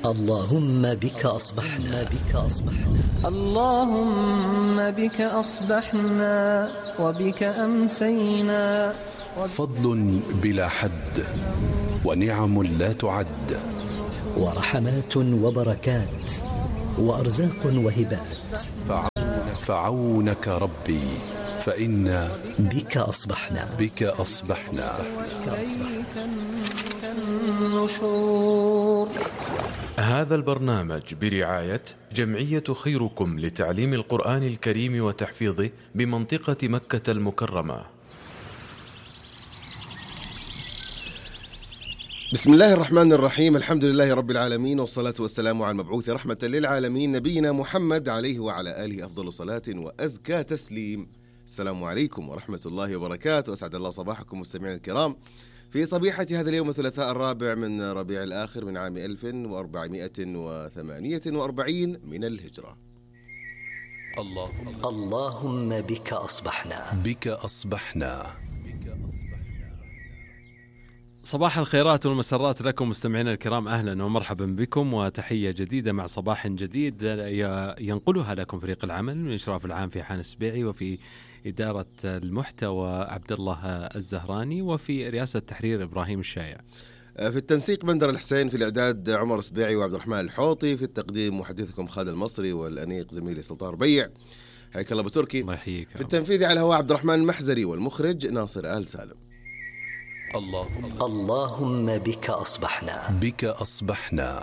اللهم بك أصبحنا اللهم بك أصبحنا وبك أمسينا. فضل بلا حد ونعم لا تعد، ورحمات وبركات وأرزاق وهبات. فعونك ربي فإنا بك أصبحنا النشور. هذا البرنامج برعاية جمعية خيركم لتعليم القرآن الكريم وتحفيظه بمنطقة مكة المكرمة. بسم الله الرحمن الرحيم، الحمد لله رب العالمين، والصلاة والسلام على المبعوث رحمة للعالمين نبينا محمد عليه وعلى آله أفضل صلاة وأزكى تسليم. السلام عليكم ورحمة الله وبركاته، أسعد الله صباحكم مستمعين الكرام في صبيحة هذا اليوم الثلاثاء الرابع من ربيع الآخر من عام 1448 من الهجرة. اللهم بك أصبحنا. صباح الخيرات والمسرات لكم مستمعينا الكرام، أهلا ومرحبا بكم وتحية جديدة مع صباح جديد ينقلها لكم فريق العمل من إشراف العام في حان السبيعي، وفي إدارة المحتوى عبد الله الزهراني، وفي رئاسة التحرير إبراهيم الشايع، في التنسيق بندر الحسين، في الإعداد عمر السبيعي وعبد الرحمن الحوطي، في التقديم محدثكم خالد المصري، والأنيق زميلي سلطان ربيع. حياك الله بتركي. الله يحييك. في التنفيذ على هواء عبد الرحمن المحزري، والمخرج ناصر آل سالم. اللهم بك أصبحنا.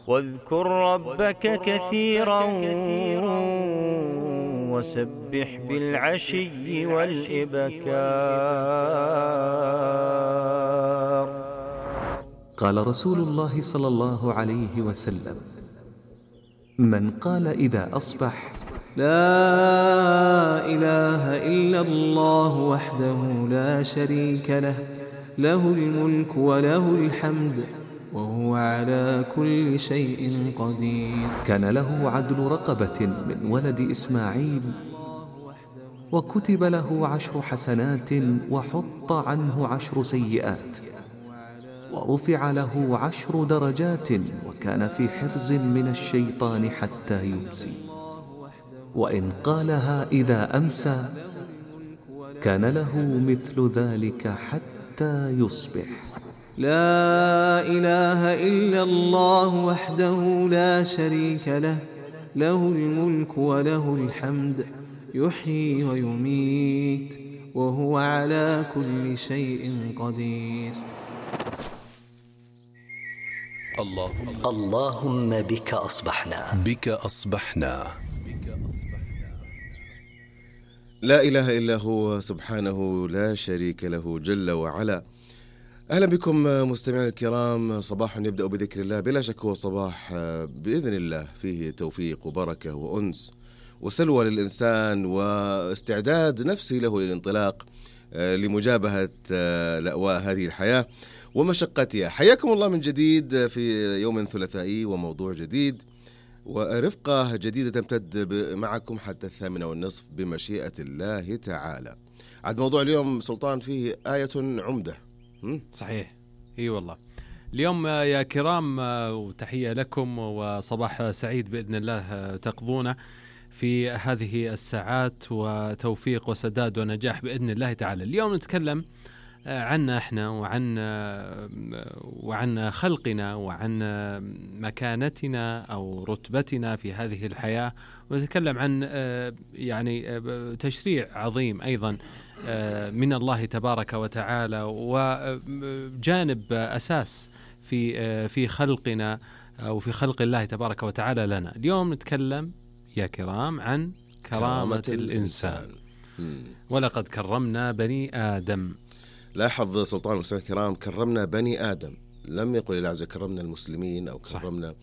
واذكر ربك كثيرا وسبح بالعشي والإبكار. قال رسول الله صلى الله عليه وسلم: من قال إذا أصبح: لا إله إلا الله وحده لا شريك له، له الملك وله الحمد وهو على كل شيء قدير، كان له عدل رقبة من ولد إسماعيل، وكتب له 10 حسنات وحط عنه 10 سيئات، ورفع له 10 درجات، وكان في حرز من الشيطان حتى يمسي. وإن قالها إذا أمسى كان له مثل ذلك حتى يصبح. لا إله إلا الله وحده لا شريك له، له الملك وله الحمد يحيي ويميت وهو على كل شيء قدير. اللهم بك أصبحنا. لا إله إلا هو سبحانه لا شريك له جل وعلا. أهلا بكم مستمعين الكرام، صباح يبدأ بذكر الله، بلا شك هو صباح بإذن الله فيه توفيق وبركة وأنس وسلوى للإنسان، واستعداد نفسي له للانطلاق لمجابهة لأواء هذه الحياة ومشقتها. حياكم الله من جديد في يوم ثلاثائي وموضوع جديد ورفقة جديدة تمتد معكم حتى 8:30 بمشيئة الله تعالى. عاد موضوع اليوم سلطان فيه آية عمدة. صحيح، اي والله. اليوم يا كرام وتحية لكم وصباح سعيد بإذن الله تقضونه في هذه الساعات، وتوفيق وسداد ونجاح بإذن الله تعالى. اليوم نتكلم عنا احنا وعن خلقنا وعن مكانتنا أو رتبتنا في هذه الحياة، ونتكلم عن يعني تشريع عظيم أيضا من الله تبارك وتعالى، وجانب أساس في خلقنا أو في خلق الله تبارك وتعالى لنا. اليوم نتكلم يا كرام عن كرامة الإنسان. ولقد كرمنا بني آدم. لاحظ سلطان المسلمين الكرام، كرمنا بني آدم، لم يقل الله عز وجل كرمنا المسلمين أو كرمنا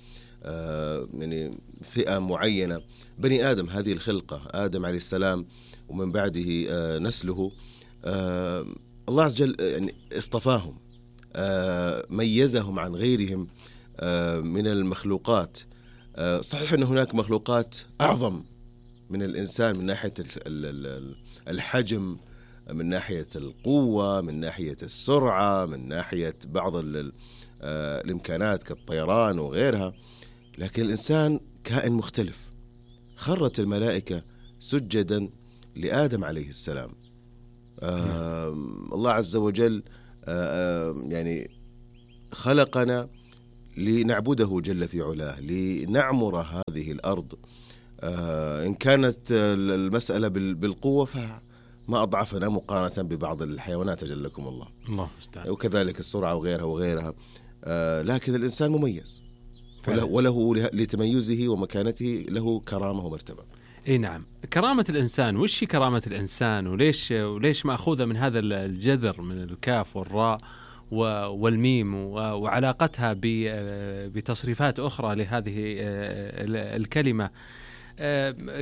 يعني فئة معينة. بني آدم هذه الخلقة، آدم عليه السلام ومن بعده نسله، الله عز وجل يعني اصطفاهم، ميزهم عن غيرهم من المخلوقات. صحيح أن هناك مخلوقات أعظم من الإنسان من ناحية الحجم من ناحية القوة، من ناحية السرعة، من ناحية بعض الإمكانات كالطيران وغيرها، لكن الإنسان كائن مختلف. خرت الملائكة سجدا لآدم عليه السلام. الله عز وجل يعني خلقنا لنعبده جل في علاه، لنعمر هذه الأرض. إن كانت المسألة بالقوة فما أضعفنا مقارنة ببعض الحيوانات جلكم الله، وكذلك السرعة وغيرها وغيرها. لكن الإنسان مميز وله لتميزه ومكانته له كرامة ومرتبة. اي نعم، كرامة الإنسان. وش كرامة الإنسان وليش مأخوذة من هذا الجذر من الكاف والراء والميم وعلاقتها بتصريفات أخرى لهذه الكلمة؟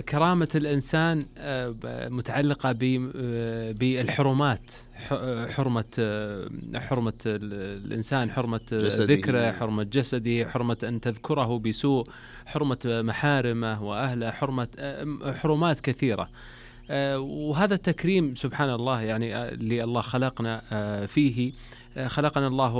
كرامة الإنسان متعلقة بالحرمات، حرمة الإنسان، حرمة ذكره، حرمة جسده، حرمة أن تذكره بسوء، حرمة محارمه وأهله، حرمات كثيرة. وهذا التكريم سبحان الله يعني اللي الله خلقنا فيه. خلقنا الله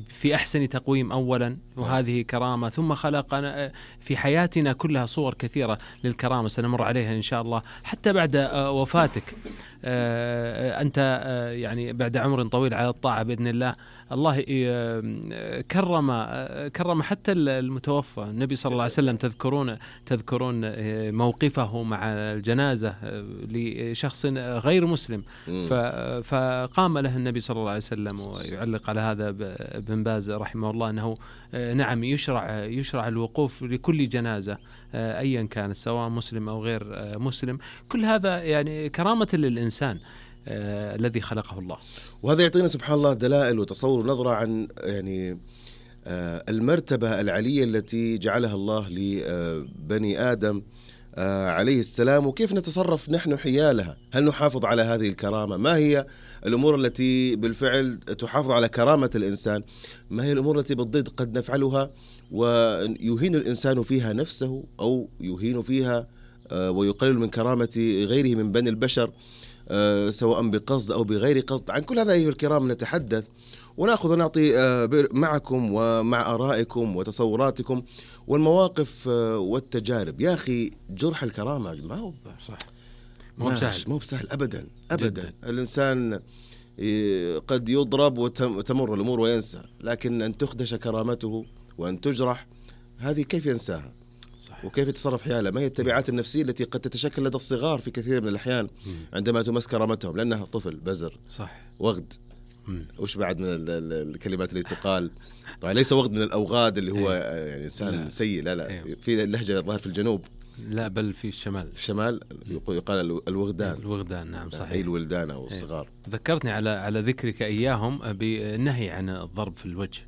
في أحسن تقويم أولا، وهذه كرامة. ثم خلقنا في حياتنا كلها صور كثيرة للكرامة سنمر عليها إن شاء الله حتى بعد وفاتك. أنت يعني بعد عمر طويل على الطاعة بإذن الله، الله كرم حتى المتوفى. النبي صلى الله عليه وسلم تذكرون موقفه مع الجنازة لشخص غير مسلم، فقام له النبي صلى الله عليه وسلم. ويعلق على هذا ابن باز رحمه الله أنه نعم يشرع الوقوف لكل جنازة أيا كان، سواء مسلم أو غير مسلم. كل هذا يعني كرامة للإنسان الذي خلقه الله. وهذا يعطينا سبحان الله دلائل وتصور ونظرة عن يعني المرتبة العلية التي جعلها الله لبني آدم عليه السلام، وكيف نتصرف نحن حيالها. هل نحافظ على هذه الكرامة؟ ما هي الأمور التي بالفعل تحافظ على كرامة الإنسان؟ ما هي الأمور التي بالضد قد نفعلها ويهين الإنسان فيها نفسه أو يهين فيها ويقلل من كرامة غيره من بني البشر، سواء بقصد أو بغير قصد؟ عن كل هذا أيها الكرام نتحدث ونأخذ ونعطي معكم ومع آرائكم وتصوراتكم والمواقف والتجارب. يا أخي جرح الكرامة ما هو صح، مو بسهل أبدا أبدا جداً. الإنسان قد يضرب وتمر الأمور وينسى، لكن أن تخدش كرامته وأن تجرح هذه كيف ينساها؟ صح. وكيف يتصرف حيالها؟ ما هي التبعات النفسية التي قد تتشكل لدى الصغار في كثير من الأحيان عندما تمس كرامتهم، لأنها طفل بزر صح وغد. وش بعد من الكلمات اللي تقال؟ طبعا ليس وغد من الأوغاد اللي هو يعني إنسان سيء، لا في اللهجة الظاهر في الجنوب، لا بل في الشمال. في الشمال يقال الوغدان نعم صحيح، أي الولدان أو الصغار. ذكرتني على ذكرك إياهم بالنهي عن الضرب في الوجه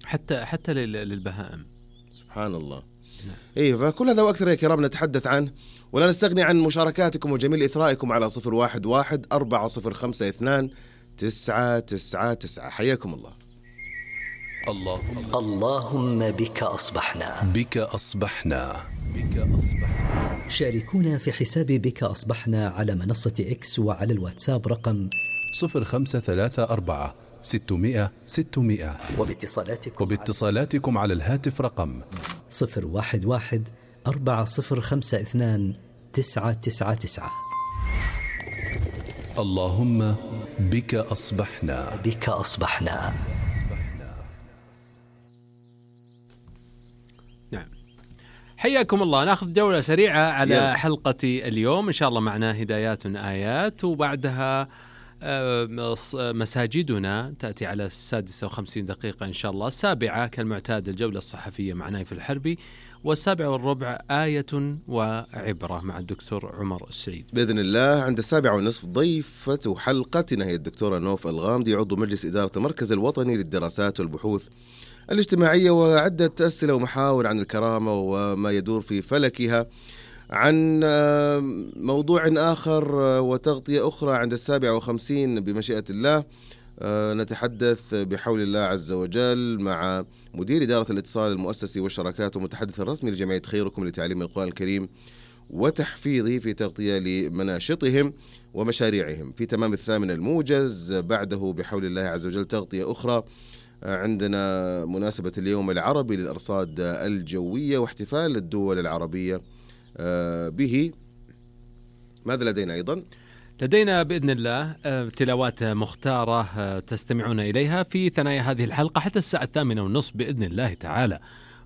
حتى للبهائم. سبحان الله. إيه، فكل هذا وأكثر يا كرام نتحدث عنه، ولا نستغني عن مشاركاتكم وجميل إثرائكم على 011-405-2999. حياكم الله. اللهم بك أصبحنا. شاركونا في حساب بك أصبحنا على منصة إكس وعلى الواتساب رقم 0534-600-600. وباتصالاتكم على الهاتف رقم 011-405-2999. اللهم بك أصبحنا. نعم، حياكم الله. ناخذ جولة سريعة على حلقة اليوم. إن شاء الله معنا هدايات آيات، وبعدها مساجدنا تأتي على 56 إن شاء الله. 7 كالمعتاد الجولة الصحفية مع نايف الحربي، 7:15 آية وعبرة مع الدكتور عمر السعيد بإذن الله. عند 7:30 ضيفة حلقتنا هي الدكتورة نوف الغامدي، عضو مجلس إدارة المركز الوطني للدراسات والبحوث الاجتماعية، وعدة أسئلة ومحاور عن الكرامة وما يدور في فلكها. عن موضوع آخر وتغطية أخرى عند 7:50 بمشيئة الله نتحدث بحول الله عز وجل مع مدير إدارة الاتصال المؤسسي والشراكات ومتحدث الرسمي لجمعية خيركم لتعليم القرآن الكريم وتحفيظه في تغطية لمناشطهم ومشاريعهم. في تمام 8 الموجز بعده بحول الله عز وجل تغطية أخرى، عندنا مناسبة اليوم العربي للأرصاد الجوية واحتفال الدول العربية به. ماذا لدينا أيضا؟ لدينا بإذن الله تلاوات مختارة تستمعون إليها في ثنايا هذه الحلقة حتى الساعة 8:30 بإذن الله تعالى.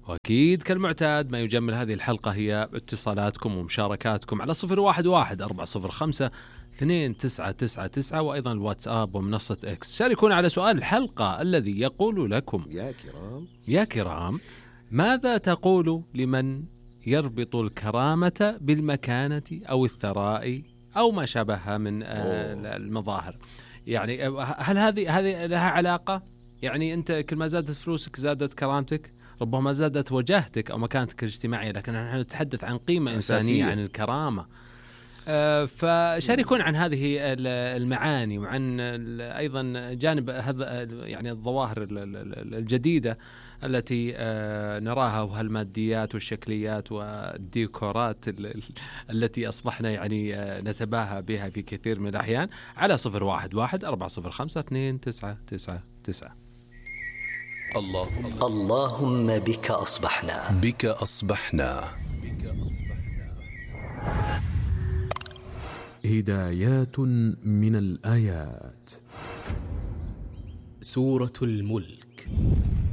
وأكيد كالمعتاد ما يجمل هذه الحلقة هي اتصالاتكم ومشاركاتكم على 011-405-2999 وأيضا الواتساب ومنصة إكس. شاركونا على سؤال الحلقة الذي يقول لكم: يا كرام ماذا تقول لمن يربط الكرامة بالمكانة أو الثراء أو ما شابه من المظاهر؟ يعني هل هذه لها علاقة؟ يعني أنت كل ما زادت فلوسك زادت كرامتك، ربما زادت وجاهتك أو مكانتك الاجتماعية، لكن نحن نتحدث عن قيمة إنسانية، عن الكرامة. فشاركون عن هذه المعاني وعن أيضا جانب هذا يعني الظواهر الجديدة التي نراها، وهالماديات والشكليات والديكورات التي أصبحنا يعني نتباهى بها في كثير من الأحيان على 011-405-2999. اللهم بك أصبحنا. بك أصبحنا. هدايات من الآيات. سورة الملك